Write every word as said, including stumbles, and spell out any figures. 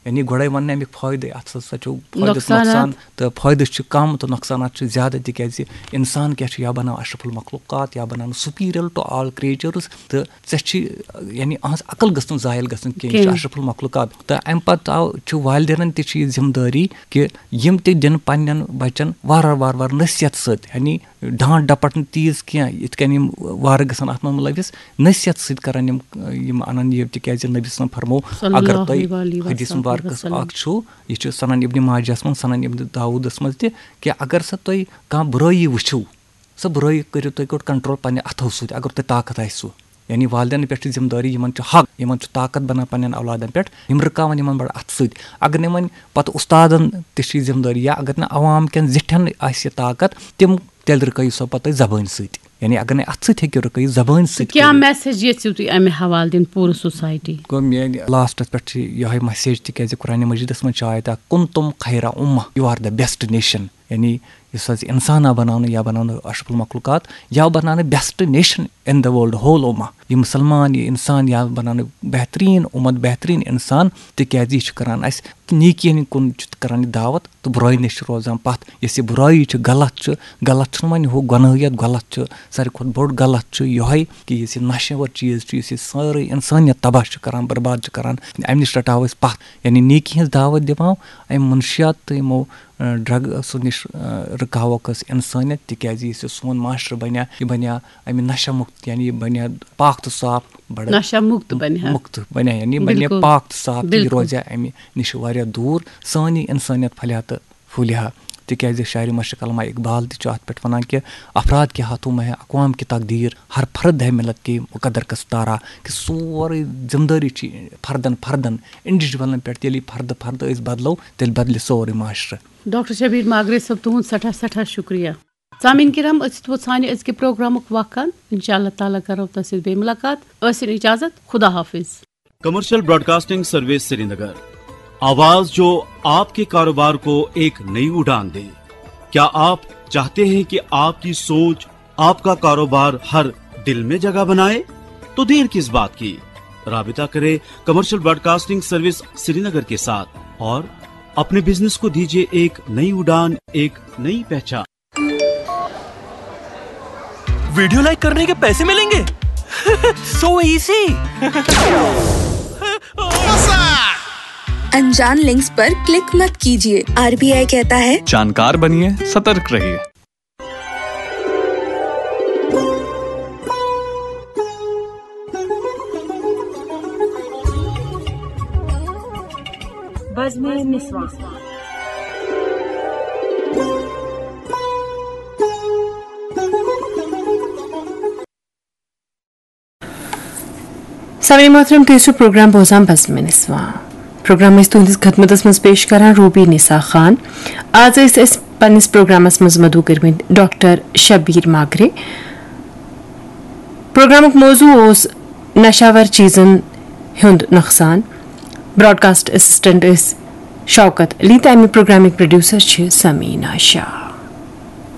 یعنی گۄڈَے وَننہٕ اَمِکۍ فٲیدٕ، اَتھ ہسا چھُ فٲیدٕ تہٕ نۄقصان، تہٕ فٲیدٕ چھِ کَم تہٕ نۄقصانات چھِ زیادٕ، تِکیٛازِ اِنسان کیٛاہ چھُ یا بَنان اشرف المخلوقات، یا بَنان superior to all creatures، تہٕ ژےٚ چھِ، یعنی، أہٕنٛز عقل گٔژھ نہٕ زٲیِل گژھٕنۍ کینٛہہ، یہِ چھُ کینٛہہ۔ اشرف المخلوقات۔ تہٕ اَمہِ پَتہٕ آو، چھُ والدینَن تہِ چھِ یہِ ذِمہٕ دٲری کہِ یِم تہِ دِن پنٛنٮ۪ن بَچَن وارٕ وارٕ، وارٕ وارٕ نصیحت سۭتۍ، یعنی ڈانٹ ڈپٹ نہٕ تیٖژ کینٛہہ، یِتھ کٔنۍ یِم وارٕ گژھن اَتھ منٛز مُلوث، نصیحت سۭتۍ کرن یِم، یِم انن یہِ، تِکیٛازِ نبی صلی اللہ علیہ وسلم فرمو، صلی اگر اللہ تۄہہِ علیہ حدیث وسلم۔ مبارکس اکھ چھُ، یہِ چھُ سنن ابن ماجہس منٛز، سنن ابن داوودس منٛز تہِ، کہِ اگر سا تۄہہِ کانٛہہ بُرٲیی وٕچھِو، سۄ بُرٲیی کٔرِو تُہۍ گۄڈٕ control پننہِ اتھو سۭتۍ، اگر تۄہہِ طاقت آسہِ سُہ۔ یعنی والدینن پٮ۪ٹھ چھِ ذمہٕ دٲری، یِمن چھُ حق، یِمن چھُ طاقت بنان پننٮ۪ن اولادن پٮ۪ٹھ، یِم رُکاون یِمن بڑٕ اتھٕ سۭتۍ۔ اگر نہٕ وۄنۍ پتہٕ استادن تہِ چھِ ذمہٕ دٲری، یا اگر نہٕ عوام کٮ۪ن زِٹھٮ۪ن آسہِ یہِ طاقت، تِم تیٚلہِ رُکٲیِو سۄ پتہٕ تُہۍ زبٲنۍ سۭتۍ۔ یعنی اگر نہٕ اتھٕ سۭتۍ ہیٚکِو رُکٲیِتھ، زبٲنۍ سۭتۍ کیٛاہ کٔرِو۔ Message یژھِو تُہۍ امہِ حوالہٕ دِنۍ پوٗرٕ society؟ گوٚو میٲنۍ lastس پٮ۪ٹھ چھِ یِہوٚے message، تِکیٛازِ قرآنِ مجیدس منٛز چھِ آیت اکھ، "کنتم خیر امہ"، you are the best nation۔ یعنی یُس حظ اِنسان آو بناونہٕ یا بناونہٕ اشرف المخلوقات یا بناونہٕ best nation in the world، whole امہ، یہِ مسلمان، یہِ انسان یا بناونہٕ بہترین امت، بہترین انسان، تِکیٛازِ یہِ چھُ کران اسہِ نیکی ہٕنٛدِ کُن چھُ کران یہِ دعوت۔ تہٕ بُرٲیی نِش چھِ روزان پَتھ۔ یۄس یہِ بُرٲیی چھِ، غلط چھُ، غلط چھُنہٕ وۄنۍ ہُہ گۄنٲہیت، غلط چھُ، ساروی کھۄتہٕ بوٚڑ غلط چھُ یِہوٚے کہِ یُس یہِ نشہٕ وَر چیٖز چھُ، یُس یہِ سٲرٕے اِنسٲنیت تباہ چھُ کَران، برباد چھُ کَران، اَمہِ نِش رَٹاو أسۍ پَتھ۔ یعنی نیکی ہِنٛز دعوت دِمو، اَمہِ منشیات تہٕ یِمو، آ، ڈرٛگسو نِش، آ، رُکاووکھ أسۍ اِنسٲنیت، تِکیٛازِ یُس یہِ سون معاشرٕ بَنیٛا، یہِ بَنیٛا اَمہِ نشہ مُکت، یعنی یہِ بَنیٛا پاک تہٕ صاف، بَڑٕ نشہ مُکت بَنہِ ہا۔ مُکت بَنہِ ہا، یعنی بَنہِ ہا بِلکُل۔ پاک تہٕ صاف، تہٕ یہِ بِلکُل۔ روزِ ہا اَمہِ نِش واریاہ دوٗر۔ سٲنی اِنسٲنیت پھۄلہِ ہا تہٕ پھوٗلہِ ہا۔ تِکیٛازِ شاعرِ مشرق علامہ اقبال تہِ چھُ اَتھ پٮ۪ٹھ وَنان کہِ "افراد کے ہاتھوں میں ہے اقوام کی تقدیر، ہر فرد ہے ملت کے مقدر کا ستارہ"، کہِ سورُے ذمہٕ دٲری چھِ فردن فردن، انڈیویجولن پٮ۪ٹھ۔ ییٚلہِ یہِ فردٕ فردٕ أسۍ بدلو، تیٚلہِ بدلہِ سورُے معاشرٕ۔ ڈاکٹر شبیر ماگرے صٲب، تُہُنٛد سٮ۪ٹھاہ سٮ۪ٹھاہ شُکریہ۔ سامعین کرام، أسۍ ووت سانہِ أزکہِ پروگرامُک وقت۔ انشاءاللہ تعالیٰ کرو تۄہہِ سۭتۍ بیٚیہِ مُلاقات۔ ٲسِن اجازت، خدا حافظ۔ کمرشل براڈکاسٹنگ سروس سرینگر، آواز جو آپ کے کاروبار کو ایک نئی اڑان دے۔ کیا آپ چاہتے ہیں کہ آپ کی سوچ، آپ کا کاروبار ہر دل میں جگہ بنائے؟ تو دیر کس بات کی، رابطہ کریں کمرشل براڈکاسٹنگ سروس سرینگر کے ساتھ اور اپنے بزنس کو دیجیے ایک نئی اڑان، ایک نئی پہچان۔ वीडियो लाइक करने के पैसे मिलेंगे? So easy। अनजान लिंक्स पर क्लिक मत कीजिए। आरबीआई कहता है, जानकार बनिए, सतर्क रहिए। بزمِ نسواں۔ سامعین محترم، تُہۍ ٲسِو پروگرام بوزان بزمِ نسواں۔ پروگرام ٲسۍ تُہنٛدِس خدمتس منٛز پیش کران روبی نسا خان۔ آز ٲسۍ أسۍ پننِس پروگرامس منٛز مدعو کٔرمٕتۍ ڈاکٹر شبیر ماگرے۔ پروگرامُک موضوع اوس نشاور چیزن ہُنٛد نۄقصان۔ براڈکاسٹ اسسٹنٹ ٲسۍ شوکت علی تہٕ امہِ پروگرامٕکۍ پروڈیوسر چھِ سمیٖنا شاہ۔